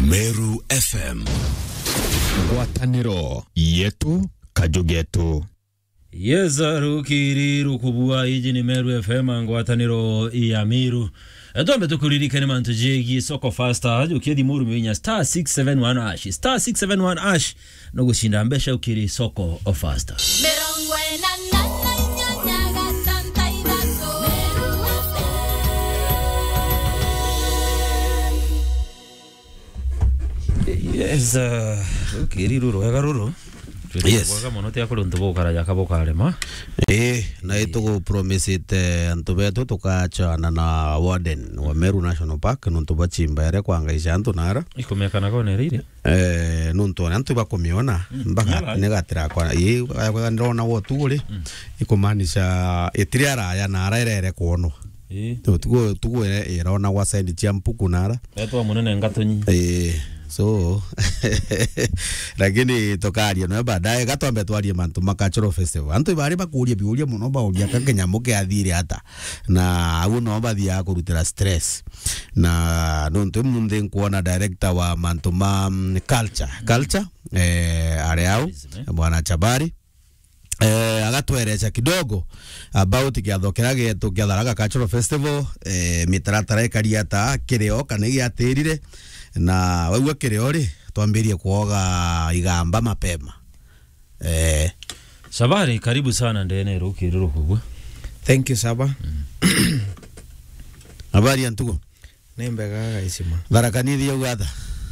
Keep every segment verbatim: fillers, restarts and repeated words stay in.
Meru F M. Ngwataniro yetu, kaju getu. Yes, rukiri rukubua, iji ni Meru F M, ngwataniro ya Meru. E, twambe tukuririkane mantu jegie soko faster, jukia thimu rumia inya star six seven one hash, star six seven one hash, no gucinda mbeca ukiri soko faster. Mirongo ina na inyanya gatanta ithatu. Yes, uh, rukiri ruru rwega ruru. Yes. Rwega mono, tia kuri untu bukaraja ka bukarema. Eh, na itugupromisite antu betu tukachana na warden wa Meru National Park, nuntu bachimba ere kwa ngai cia antu nara. Ikumekana kone riri? Eh, nuntu ona antu bakumiona, mm, mpaka nyara. Ni gatira kwa, ii, kwa, kwa ndirona gwo tu uri, mm, ikumaanisha itiri araya na ara irere kwonwa. Ii. Tu, tugu, tugu ire, irona gwa side cia mpuku nara. Etwa munene ngatunyi. Ii, so, lakini tukaria nawe baadaye, gatwambe twarie mantu ma cultural festival. Antu ibari bakuria biuria muno, bauria ka kinyamu kiathire ata. Na au no bathiaga kurutira stress. Na nontu munthi nkuona director wa mantu ma, mm, culture. Culture, eh, ari au, tourism, eh? Bwana Chabari. Eh, agatwereca kidogo about kiatho kiria gietu kia Tharaka Cultural Festival, eh, mitaratara ikari ata, kirio kana giatirire, na waigua kirio ri, twambirie kuoga igamba mapema. Eh. Chabari, karibu sana ndene rukiri rukubua. Thank you, Saba. Mm. Habari ya ntugo? Ni mbega, gaicima. Tharaka Nithi yauga ata?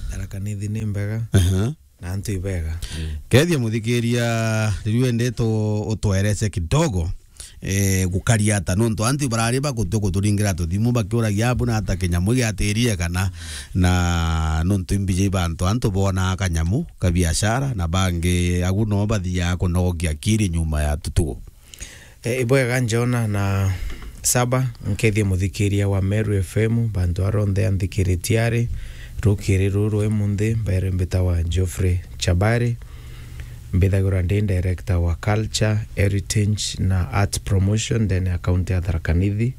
Tharaka Nithi ni mbega. Aha. Na antu ibega. Mm. Kethia muthikiria, riu ende tu-, utwerece kidogo, eh, gukaria ata, nontu antu barari bagutua kuturingira tuthimu bakiuragia abu na ata kinyamu giatirire kana, na nontu imbiji bantu antu bona kanyamu ka biashara, na bangi agu no bathiaga kunogokia kiri nyuma ya tutugo. E, ibwega Njona na Saba, nkethie muthikiria wa Meru F M, bantu aronthe anthikiritie ari, rukiri ruru rwi munthi, mbere mbitawa Geoffrey Chabari, mbithagirwa ndi director wa culture, heritage na art promotion ndene ya county ya Tharaka Nithi.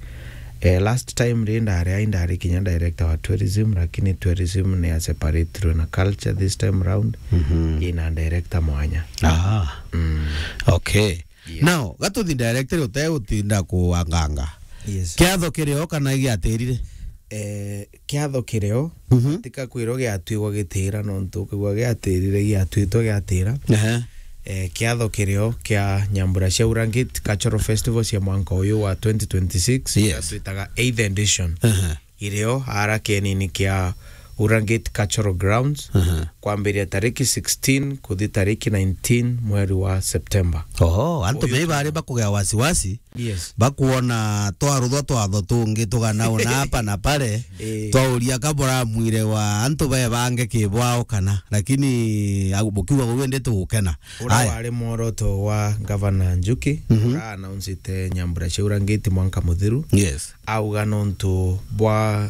E, last time ri ndari ai, ndari kinya director wa tourism, lakini tourism ni ya separate na culture this time round, mhm, ina director mwanya. Ah. Mm. Okay. Yes. Now, gatuthi directly utegutinda kuanganga. Yes. Kiatho kirio kana giatirire? Eh, kiatho kirio, mhm, tika kwirwo giatwigwa gitira, nontu ukigwa giatirire, giatwitwe giatira. Ehe. Eh, kiatho kirio kia nyambura cia Urangit Cultural Festival cia mwanka uyu wa twenty twenty-six, yes, twitaga eighth edition. Ehe. Irio ara kienini kia Urangit Cultural Grounds, aha, kwambiria tariki sixteen kuthi tariki nineteen mweri wa September. Oho, antu uyu me bari bakugea wasiwasi, yes, bakuona twaruthwa twatho tungi tugana una hapa na pale, eh, twauria ka buramwire wa antu be bange kibwao kana, lakini au bukiuga uu indi tugukena. Ura, aya, wari mworoto wa Governor Njuki, mhm, ura announcete nyambura cia Urangit mwanka muthiru. Yes. Auga nontu bwa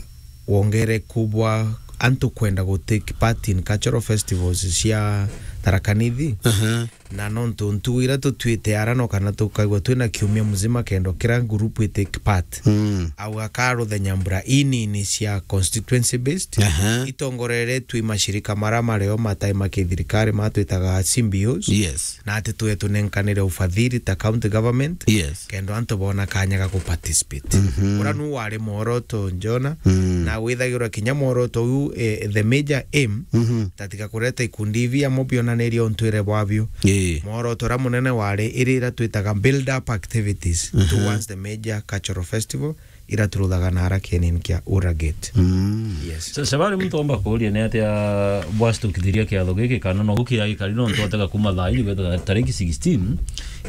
wongereku bwa antu kwenda gu take part in cultural festivals cia Tharaka Nithi. Aha. Na nontu ntugu iria tutwite ara no kana tukaigua twina kiumia muzima kenda kira group i take part. Mm. Auga karuthe nyambura inini cia constituency based. Aha. Itongoreretwe i mashirika mara mario matai ma kithirikari matwitaga C B Os. Yes. Na ati twe tunenkanire ufadhili ta county government, yes, kenda antu bona kanya ga ku participate. Mhm. Ura nu wari mworoto Njona, mm, na withagirwa kinya mworoto uyu, eh, the major aim, mhm, tatiga kureta ikundi ibi amo bionanirie untwire bwabio. Ii. Mworoto ura munene wari iri ira twitaga build up activities, mhm, towards the major cultural festival. Ira turuthaga na ara kienini kia Urangit. Mm. Yes. Sa-, Shabari, muntu omba kuuria ni atia bwastukithiria kiatho giki, kana no gukiria gikari no ntwatega kuma thaa iri gweta tariki sixteen,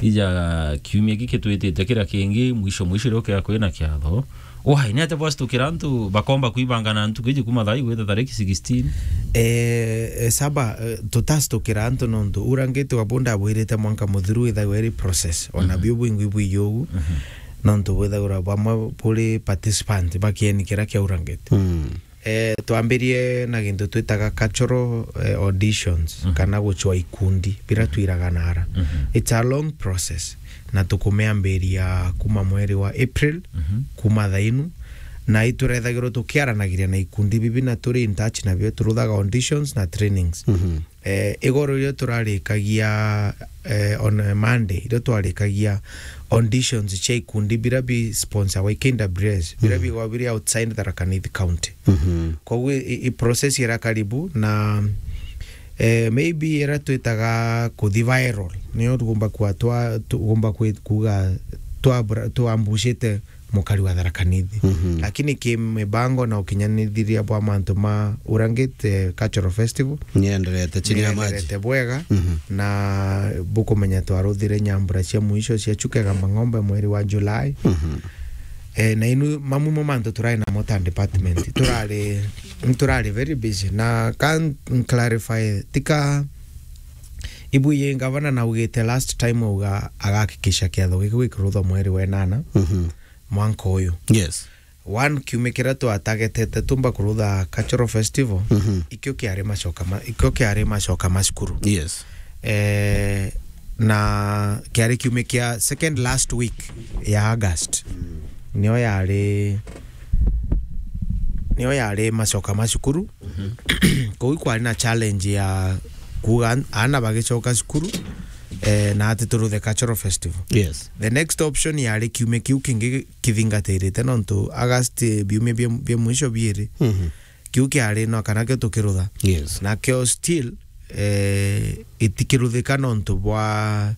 ija kiumia giki twitite kiria kingi, mwisho mwisho rio kia kwina kiatho. Why? Ni atia bwastukira antu bakomba kwibangana ntuku iji kuma thaa iri gweta tariki sixteen? Eh, eh, Saba, eh, tutastukira antu nontu Urangit wa bunda abwirite mwanka muthiru withagwa iri process. Ona, mhm, biu bwingwi bwiji ugu. Mhm. Nontu bwithagirwa bamwe buri participant ba kieni kiria kia Urangit. Mm. Eh, twambirie na gintu twitaga cultural, eh, auditions, mhm, kana gucwa ikundi, bira, mhm, twiraga nara. Mhm. It's a long process, na tukumiambiria kuma mweri wa April, mhm, kuma thainu, Na iturethagirwo tukiaranagiria na ikundi bibi na turi in touch nabio, turuthaga auditions na trainings. Mhm. Eh, igoro iria turarikagia, eh, on a Monday, iria twarikagia auditions cia ikundi bira bi sponsor wa K W S, bira Mhm. bigwa biri outside Tharaka Nithi County. Mhm. Koguo i, i process ira karibu na, eh, maybe ira twitaga kuthi viral, niyo tugomba kwa twa, tugomba kwi-, kuga twa, twambushite mukari wa Tharaka Nithi. Mhm. Lakini ki mibango na ukinyanithiria bwa mantu ma Urangit, eh, Cultural Festival, nienderete chini ya maji. Nienderete bwega, Mhm. na bukumenya twaruthire nyambura cia mwisho cia Chuka Igamba Ng'ombe mweri wa July. Mhm. Eh, na inu mamu mo mantu turai namo ta department. Turari, turari very busy. Na can clarify, tika ibu ye gavana na ugite last time uga agakikisha kiatho giki gikirutha mweri wa enana. Mhm. mwanka uyu. Yes. One, kiumia kiria twatagetete tumba kurutha Cultural Festival, Mhm. ikio kiari macoka ma-, ikio kiari macoka ma cukuru. Yes. Eh, na kiari kiumia kia second last week ya August. Nio yari, nio yari macoka ma cukuru. Mhm. Koguo kwari na challenge ya kuga an-, aana bagicoka cukuru, eh, na ati turuthe Cultural Festival. Yes. The next option yari kiumia kiu kingi kithingatirite, nontu August, eh, biumia bia, bia mwisho biiri. Mhm. Kiu kiari no kana kio tukirutha. Yes. Na kio still, eh, itikiruthika nontu bwa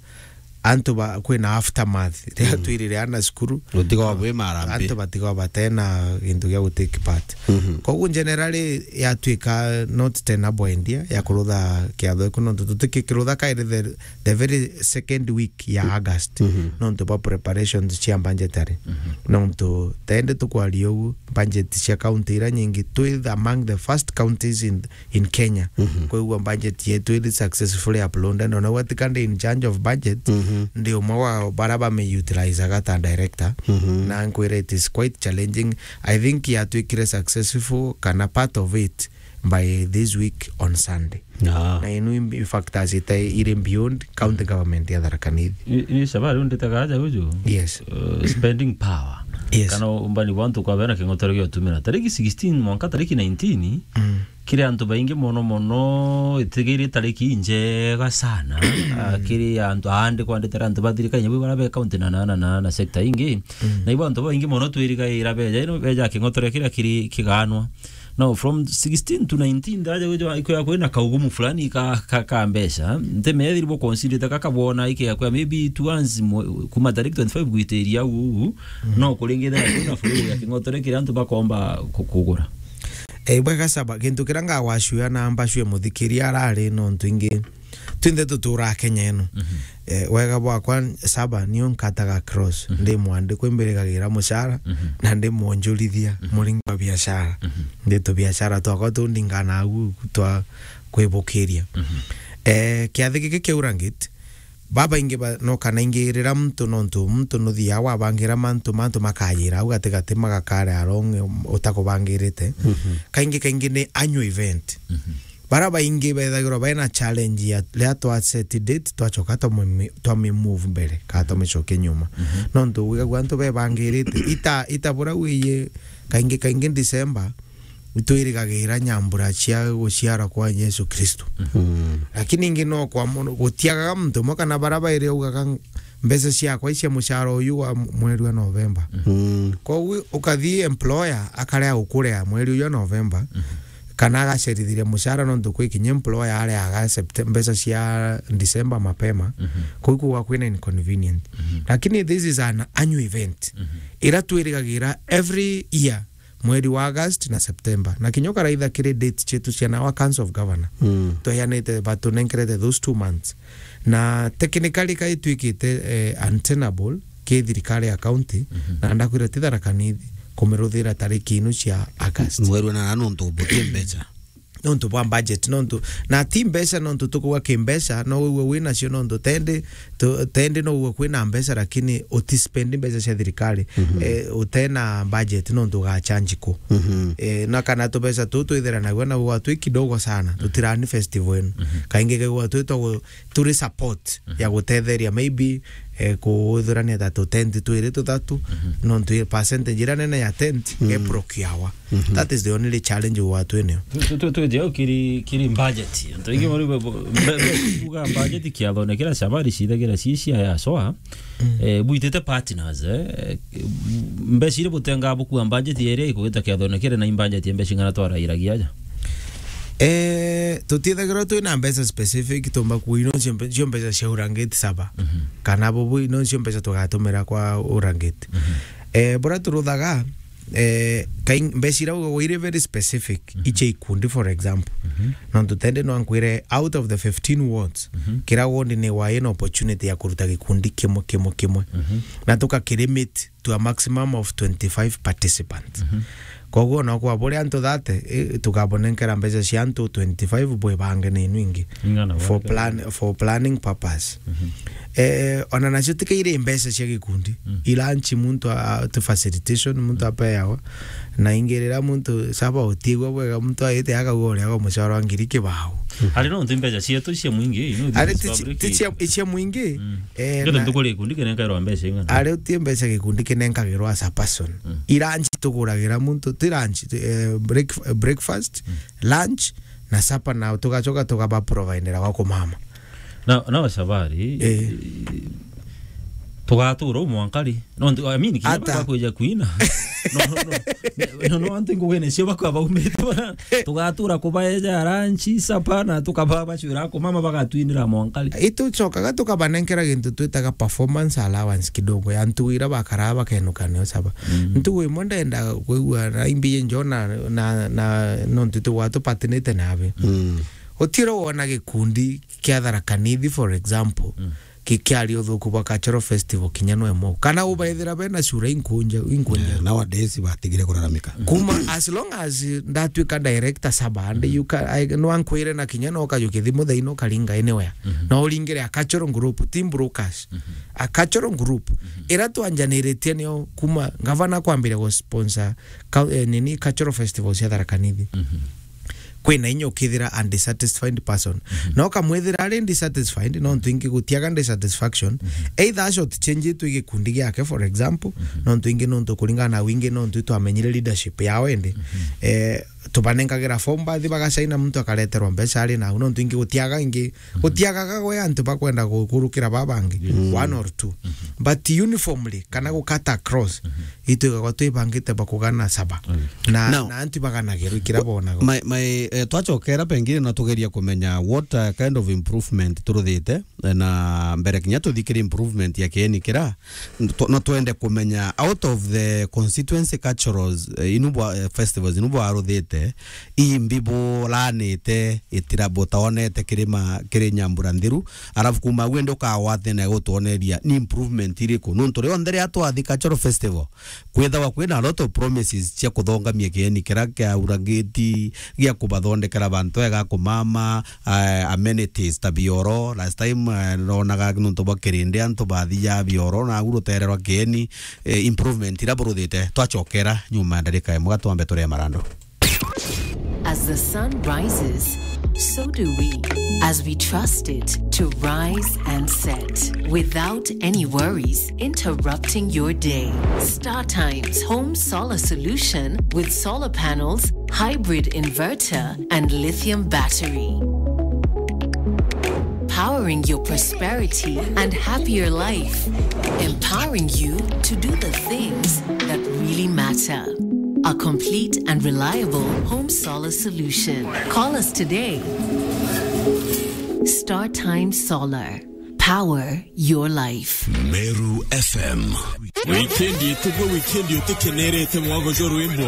antu ba, kwina aftermath. Riria Mm. twirire ana cukuru, Gutiga wa bwi marambi. antu batiga batena gintu gia gutake part. Mhm. Koguo generally yatuika not tenable idea ya kurutha kiatho iku, nontu tutikikirutha kairi the, the very second week ya August. Mhm. Nontu bwa preparations cia budgetary. Mhm. Nontu tende tukwaria ugu, budget cia county ira nyingi, twi among the first counties in in Kenya. Mhm. Kwigua budget yetu iri successfully uploaded. Ona gwe tika ndi in charge of budget, Mhm. ndi umwe wa bara bami utilizaga ta director. Mhm. Na nkwira it is quite challenging. I think yatwikire successful kana part of it by this week on Sunday. Ah. Na inu imbi-, factors ita iri beyond county government ya Tharaka Nithi. Ni, ni shabaha riu nditaga aja uju? Yes. Uh, spending power. Yes. Kana umbani bwa antu kwa bena king'otore gia utumira. Tariki sixteen mwanka tariki nineteen, Mm. kiri antu baingi mono mono, itigiri tariki injega sana. Ah, kiri antu aandi kwanditira antu ba thirikari, nyabu bara be county na, na, na, na, na sector ingi. Mm. Na ibo antu baingi mono twirigaira beja, ino beja king'otore kiria kiri kiganwa. Now, from sixteen to nineteen, ndaja gwithwa ikwithagwa kwina kaugumu fulani ka, ka, ka mbeca. Ntimethiri bo consider ta kakabona ikiakwia maybe two months mo-, kuma tariki twenty-five gwitiria uu, uu, Mm. no kuringithira kwina flow ya king'otore kiria antu bakomba ku-, kugura. Eh, bwega Saba, gintu kiria ngagwacua na mbacue muthikiria arari nontu ingi twinthe tuturaa Kenya ino. Mhm. Eh, wega bwakwa Saba, nio nkataga cross, Mhm. ndi mwandikwa imbirigagira mucara, Mhm. na ndi mwonjorithia Mhm. muringo wa biashara. Mhm. Ndi tubiashara twakwa tundingana agu twa kwibukiria. Mhm. Eh, kiathi giki kia Urangit, babaingi ba, no kana ingi rira muntu nontu muntu nuthiaga wabangira mantu, mantu makayira au gatigati magakare along utakubangirite. Mhm. Kaingi kaingi ni annual event. Mhm. Bara baingi bethagirwa baina challenge ya riria twa set date, twacoka twami-, twami move mbere, kana twamicokia nyuma. Mhm. Nontu wigagua antu bebangirite, ita, ita bura wiye, kaingi, kaingi December, itwirigagira nyambura cia guciarwa kwa Yesu Kristo. Mhm. Lakini ingi no kwa mono, gutiagaga muntu umwe kana bara bairi augaga, "Mbeca ciakwa icia mucara uyu wa mweri wa November." Mhm. Koguo ukathi employer akarea gukurea mweri uyu wa November, Mhm. kana agacerithiria mucara nontu kwi kinya employer areaga Septe-, mbeca cia December mapema, Mhm. kuu kuga kwina inconvenient. Mhm. Lakini this is an annual event, Mhm. ira twirigagira every year mweri wa August na September. Na kinya ukaraitha kiri date cietu cia na our Council of Governor, Mm. tweanite, batunenkerete those two months. Na technically ka itwikite, eh, untenable, ki thirikari ya county, Mhm. na ndakwira ti Tharaka Nithi kumiruthira tariki inu cia August. Mweri wa nana nontu buti mbeca. Nontu bwa budget, nontu, na ti mbeca nontu tukuga ki mbeca, no wigue wi nacio nontu tendi, tu-, tendi no wigue kwina mbeca lakini utispendi mbeca cia thirikari. Mhm. Eh, utena budget nontu ugachange ku. Mhm. Eh, na kana tubeca tu twithira nagua na wigue twi kidogo sana, tutirani festival inu. Mhm. Kaingi kegua twi twa gu-, turi support Mhm. ya gutetheria maybe eh, kuthurania ta tu tent twiri tuthatu, nontu i percentage iria nene ya tent, mm, e procure-wa. That is the only challenge gwatu eneo. Tu, tu, tu, tu, kiri, kiri budget. Antu aingi mari bo, bo, mbe, mbe, kuga budget kiathone kira Shabari cithagira cicia ya soa. Eh, bwitite partners, eh, mbeca iria butengaa bukua budget iria ikugita kiathone kiri na budget ya mbeca ing'ana twarairagia aja? Eh, tutithagirwa twina mbeca specific tumba kuina cio mbe-, cio mbeca cia urangiti saba. Kana bubu ino cio mbeca tugatumira kwa urangiti. Eh, buria turuthaga, eh, kaing-, mbeca iria ugagwa iri very specific, icia ikundi, for example. Nontu tende no nkwire, out of the fifteen wards, kira ward ni wa ina opportunity ya kuruta gikundi kimwe, kimwe, kimwe. Na tukakilimit to a maximum of twenty-five participants. Koguo no kwa buria antu thirty, eh, tukabonenkera mbeca cia antu twenty-five bwe bange ni inwingi. Ing'ana for bwa plan, for planning purpose. Eh, ona nacio tikaire mbeca cia gikundi. Ilanchi muntu a, tu facilitation muntu apeawa. Na ingi riria muntu saba utiigua bwega, muntu aite akauga uria agwa mucara wa ngiri kibao. Ari no ntu mbeca cietu cia mwingi, you know, this is public. Ari ti cia, ti cia, cia mwingi, eh, ngeto na ntukuri gikundi kinenkairwa mbeca ing'ana? Ari uti mbeca gikundi kinenkagirwa as a person. Iranchi tuguragira muntu, ti lunch, eh, break-, breakfast, lunch, na supper, na tugacoka tugaba providera gwa kumama. Na, na Shabari, eh, tugatura u mwankari. No, ntu-, I mean, kinya ata bakwija kuina. No, no, no. No, no, antu ngugene cio bakwa baumite bana. Tugatura kubaeja lunch, supper, na tukaba bacwira kumama bagatwinira mwankari. Itucokaga tukabanenkera gintu twitaga performance allowance kidogo ya ntugu ira bakaraa bakenuka nio saba. Ntugu imwe ndenda kwigua na imbi njo na, na, na, nontu tugwa tupatinite nabe. Utiro wona gikundi kia Tharaka Nithi, for example, ki-, kiaria uthuku bwa cultural festival kinya no imwe. Kana ubaethira bena cura inkunja, inkunja. Yeah, nowadays batigire kuraramika. Kuma as long as ndatwika director saba, and you ca-, I, no ankwire na kinya no kajuke thimu thaino karinga anywhere. No uringire a cultural group, team brokers. A cultural group. Ira twanjaniritie nio kuma gavana kwambire gu sponsor ka-, eh, nini cultural festival cia Tharaka Nithi. Kwina inya ukithira a dissatisfied person. Na ukamwithira ari dissatisfied, no ntu ingi gutiaga dissatisfaction. Either a short change tu gikundi giake, for example, no ntu ingi no ntu kuringana na wingi no ntu twamenyire leadership yao indi. Eh, tubanenkagira form bathi bagacaina muntu akareterwa mbeca ari nau, no ntu ingi gutiaga ingi, gutiagaga gwe antu bakwenda gukurukira babangi, one or two. But uniformly, kana gukata across, itwigagwa twibangite bakugana saba. Na, now, na antu baganagirwa ikira bonaga. My, my, eh, twachokera pengine na tugeria kumenya what, uh, kind of improvement turuthite, eh, na mbere kinya tuthikire improvement ya kieni kira, tu-, na twende kumenya out of the constituency cultures, eh, inu bwa, eh, festivals inu bwaruthite, imbi bulanite itira butaonete kirima kiri Nyambura Nthiru, alafu kuma au indi ukagwatene gutwoneria ni improvement iriku? Nontu rionthe riria twathi cultural festival, kwithawa kwina a lot of promises cia kuthongamia kieni kira kia urangiti, gia kubathondekera bantu ega kumama, eh, amenities ta bioro. Last time, eh, ronaga nontu bwa kirindi antu bathia bioro, na au rutererwa kieni, eh, improvement ira buruthite. Twachokera nyuma ya ndarika imwe, twambe turie marando. As the sun rises, so do we. As we trust it to rise and set without any worries interrupting your day. Star Times home solar solution with solar panels, hybrid inverter, and lithium battery. Powering your prosperity and happier life. Empowering you to do the things that really matter. A complete and reliable home solar solution. Call us today. Star Time Solar. Power your life. Meru F M. Wikendi itugwe, wikendi utikenerete mwago jo rwimbo.